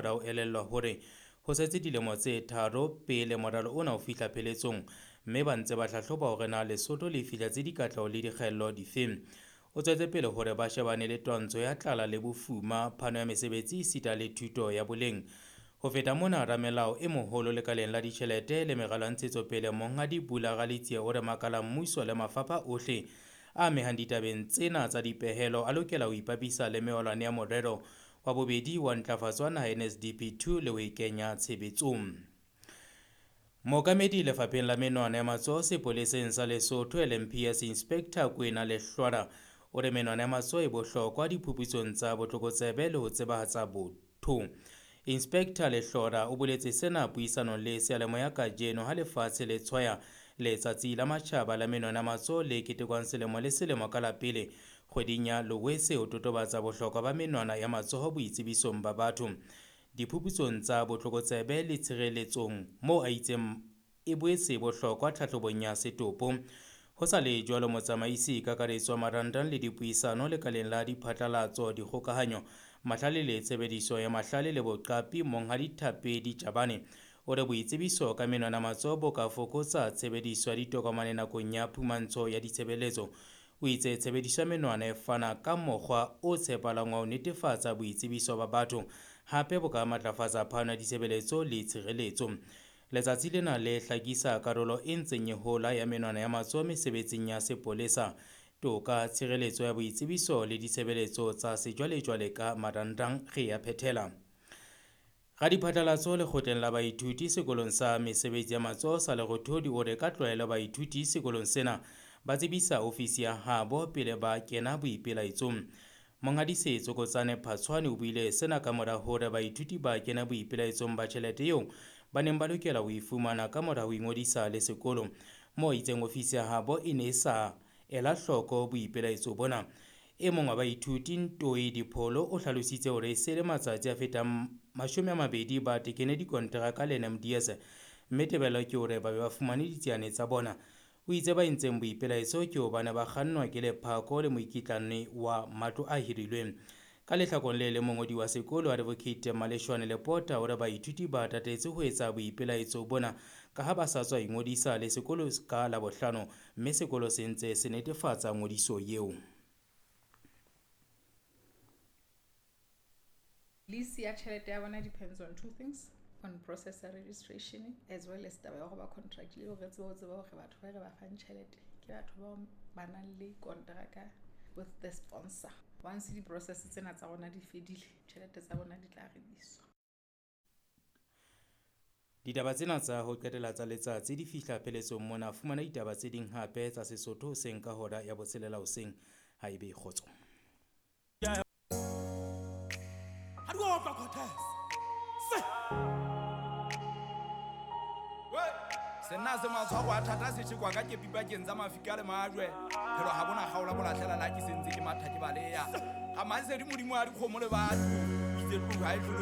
mora ho elellwa hore ho setse dilemo tse tharo pele moralo ona o fihla pheletsong, mme ba ntse ba hlahloba hore na Lesotho le fihletse dikatleho le dikgaello dife. O tswetse pele hore ba shebane le twantsho ya tlala le bofuma, phano ya mesebetsi esita le thuto ya boleng. Ho feta mona, ramelao e moholo lekaleng la ditjhelete le meralo ya ntshetsopele Monghadi Bula Ralitsie o re makala mmuso le mafapha ohle a amehang ditabeng tsena tsa dipehelo a lokela ho ipapisa le mewalwane ya morero wa bobedi wa ntlafatso wa naha NSDP 2 le ho e kenya tshebetsong. Mookamedi lefapheng la menwana ya matsoho sepoleseng sa Lesotho LMPS Inspector Kwena Lehlwara o re menwana ya matsoho e bohlokwa diphuputsong tsa botlokotsebe le ho tsebahatsa botho. Inspector Lehlora o boletse sena puisanong le seyalemoya kajeno ha lefatshe le tshwaya letsatsi la matjhaba la menwana ya matsoho le ketekwang selemo le selemo ka la pele kgweding ya Loetse ho totobatsa bohlokwa ba menwana ya matsoho boitsebisong ba batho diphuputsong tsa botlokotsebe le tshireletsong moo a itseng e boetse bohlokwa tlhahlobong ya setopo. Ho sa le jwalo, motsamaisi kakaretso wa marangrang le dipuisano lekaleng la diphatlalatso, dikgokahanyo, mahlale le tshebediso ya mahlale le boqapi Monghadi Thapedi Tjabane o re boitsebiso ka menwana matsoho bo ka fokotsa tshebediso ya ditokomane nakong ya phumantsho ya ditshebeletso. O itse tshebediso ya menwana e fana ka mokgwa o tshepahalang wa ho netefatsa boitsebiso ba batho, hape bo ka matlafatsa phano ya ditshebeletso le tshireletso. Letsatsi lena le hlakisa karolo e ntseng e hola ya menwana ya matsoho mesebetsing ya sepolesa, toka, tshireletso ya boitsebiso le ditshebeletso tsa sejwalejwale ka marangrang. Re ya phethela. Radiphatlalatso lekgotleng la baithuti sekolong sa mesebetsi ya matsoho sa Lerothodi o re ka tlwaelo baithuti sekolong sena ba tsebisa ofisi ya habo pele ba kena boipelaetsong. Monghadi Setsokotsane Phatshwane o buile sena ka mora hore baithuti ba kena boipelaetsong ba tjhelete eo ba neng ba lokela ho e fumana ka mora ho ingodisa le sekolo, moo a itseng ofisi ya habo e ne e sa ela hloko boipelaetso bona. E mong wa baithuti Ntoi Dipholo o hlalositse hore e se le matsatsi a fetang 20 ba tekene dikonteraka le NMDS, mme tebello ke hore ba be ba fumane ditsiane tsa bona. O itse ba entseng boipelaetso ke hobane ba kgannwa ke lephako le moikitlane wa matlo a hirilweng. Ka lehlakoreng le leng, mongodi wa sekolo Advocate Maleshwane Lepota o re baithuti ba tatetse ho etsa boipelaetso bona ka ha ba sa tswa ingodisa le sekolo ka Labohlano, mme sekolo se ntse se netefatsa ngodiso eo. Lease ya tjhelete ya bona depends on two things, on process ya registration as well as taba ya go ba contract le hore re tsebe ho tseba hore batho ba re ba fang tjhelete ke batho bao ba nang le kontraka with the sponsor. Once di-process tsena tsa rona di fedile, tjhelete tsa bona di tla releaswa. Ditaba tsena tsa ho qetela tsa letsatsi di fihla pheletsong mona. Fumana ditaba tse ding hape tsa Sesotho hoseng ka hora ya 6 hoseng. Ha ebe kgotso. Ha di otlwa Cortez. Se. Senna se matshwaro a thata se tjhekwa ka kepi pakeng tsa mafika le majwe. Phelo ha bona kgaola bolahlela la ke sentse ke matha ke baleya. Ga masedi modimo a dikgomo le batho. Itse tloha e tlolo